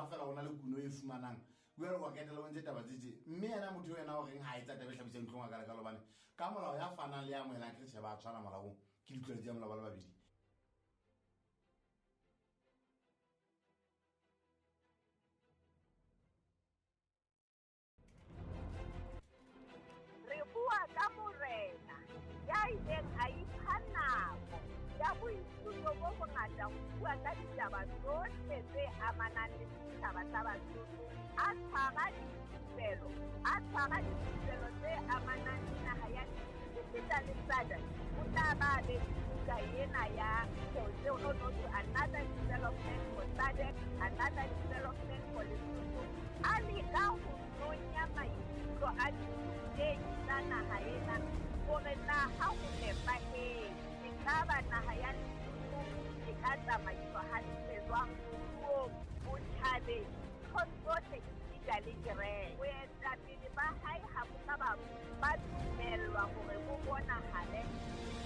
fela go na le kuno e fumanang jale wa ketela o ntse taba tse tse mme yena motho yena o reng ga e tsa taba e tlhabisang ditlhong a kalekalo bane ka molao ya fanang le ya amogelang ke retšhe ba tshwana molaong ke ditlwaedi tsa molao ba le babedi. Re bua ka morena ya ileng a ipha nako ya boithuto bo bongata ho bua ka ditaba tsohle tse amanang le setjhaba sa Basotho, a tshwara dithupelo, a tshwara dithupelo tse amanang le naha ya esita le SADC. O tla ba be buka ena ya no no to another development for SADC, another development for Lesotho. A leka ho nonya maikutlo a ditei tsa naha ena hore na ha ho nepahetse ekaba naha ya Lesotho e ka tsamaiswa hantle jwang moruong, botjhabeng, nthong tsohle esita le kereke. Boetapele ba hae ha bo ka ba dumellwa hore bo bonahale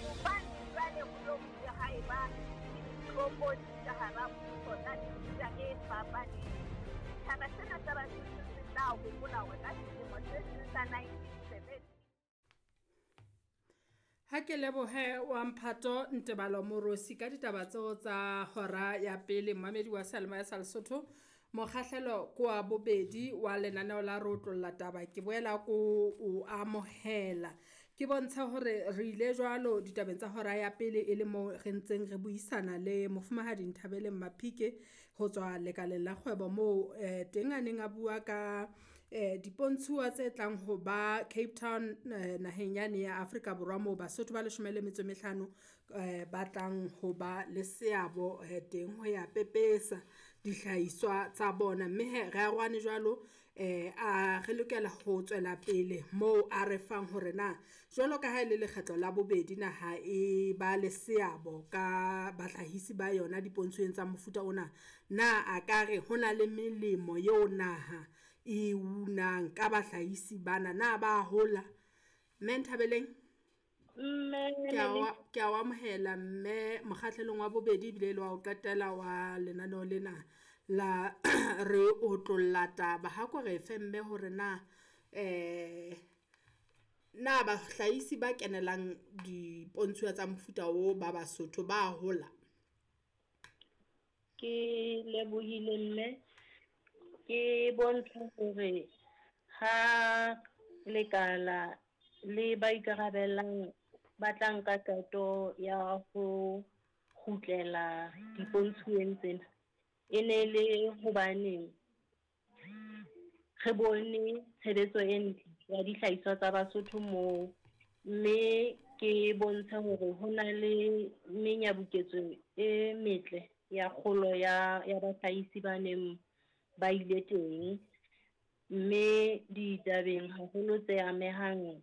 hobane jwale ho lo bile ha eba le ditlokotsi ka hara mmuso tsa mefuta e fapaneng. Setjhaba sena sa Basotho se tla hopola hore ka selemo se seng sa 1970 Ha ke lebohe wa mphato Ntebalo Morosi ka ditaba tseo tsa hora ya pele mmamedi wa Seyalemoya sa Lesotho. Mokgahlelo ke wa bobedi wa lenaneo la re otlolla taba ke boela ko o amohela. Ke bontshe hore re ile jwalo ditabeng tsa hora ya pele e le moo re ntseng re buisana le mofumahadi Nthabeleng Maphike ho tswa lekaleng la kgwebo moo teng a neng a bua ka dipontshuwa tse tlang ho ba Cape Town naheng yane ya Afrika Borwa moo Basotho ba 15 ba tlang ho ba le seabo teng ho ya pepesa dihlahiswa tsa bona. Mme he re arohane jwalo a re lokela ho tswela pele moo a re fang hore na jwalo ka ha e le lekgetlo la bobedi naha e ba le seabo ka bahlahisi ba yona dipontshweng tsa mofuta ona, na a ka re ho na le melemo eo naha e unang ka bahlahisi bana, na ba hola? Mme Nthabeleng, ke a o amohela mme mokgahlelong wa bobedi ebile le wa ho qetela wa lenaneo lena la re otlolla taba. Ha ko re fe mme hore na na bahlahisi ba kenelang dipontshuwa tsa mofuta o ba Basotho ba hola? Ke lebohile mme, ke bontsha hore ha lekala le ba ikarabellang ba tla nka qeto ya ho kgutlela dipontshuweng tsena, e ne le hobaneng re bone tshebetso e ntle ya dihlahiswa tsa Basotho moo, mme ke bontshe hore ho na le menyabuketso e metle ya kgolo ya bahlahisi ba neng ba ile teng, mme ditabeng haholo tse amehang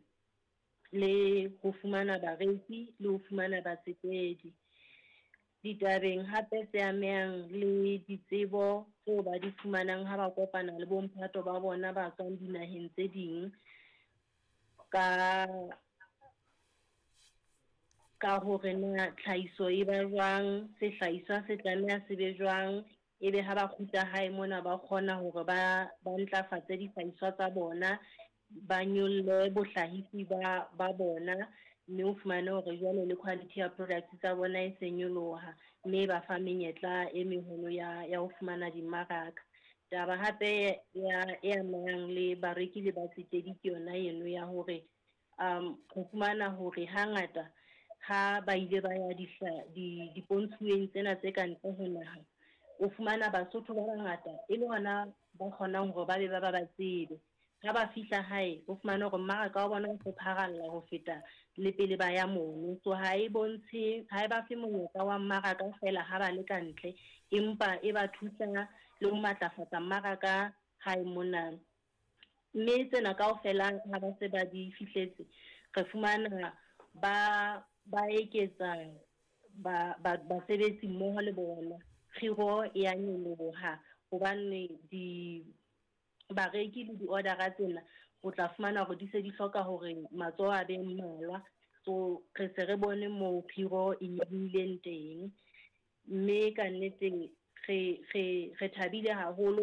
le ho fumana bareki le ho fumana batsetedi. Ditabeng hape tse amehang le ditsebo tseo ba di fumanang ha ba kopana le bomphato ba bona ba tswang dinaheng tse ding ka hore na tlhahiso e ba jwang, sehlahiswa se tlameha se be jwang, ebe ha ba kgutla hae mona ba kgona hore ba ntlafatse dihlahiswa tsa bona, ba nyolle bohlahisi ba bona, mme o fumane hore jwale le quality ya products tsa bona e se nyoloha, mme ba fa menyetla e meholo ya ho fumana dimmaraka. Taba hape ya e amang le bareki le batsetedi ke yona eno ya hore ho fumana hore hangata ha ba ile ba ya dipontshuweng tsena tse ka ntle ho naha, o fumana Basotho ba bangata e le hona ba kgonang hore ba be ba tsebe. Ha ba fihla hae o fumane hore mmaraka wa bona o se pharalla ho feta le pele ba ya mono. So ha e bontshe, ha e ba fe monyetla wa mmaraka fela ha ba le ka ntle, empa e ba thusa le ho matlafatsa mmaraka hae mona. Mme tsena kaofela ha ba se ba di fihletse, re fumana ba eketsa basebetsi mmoho le bona. Kgiro e ya nyoloha hobane di bareki le di-order-a tsena o tla fumana hore di se di hloka hore matsoho a be mmalwa. So re se re bone moo kgiro e nyolohileng teng, mme ka nnete re thabile haholo.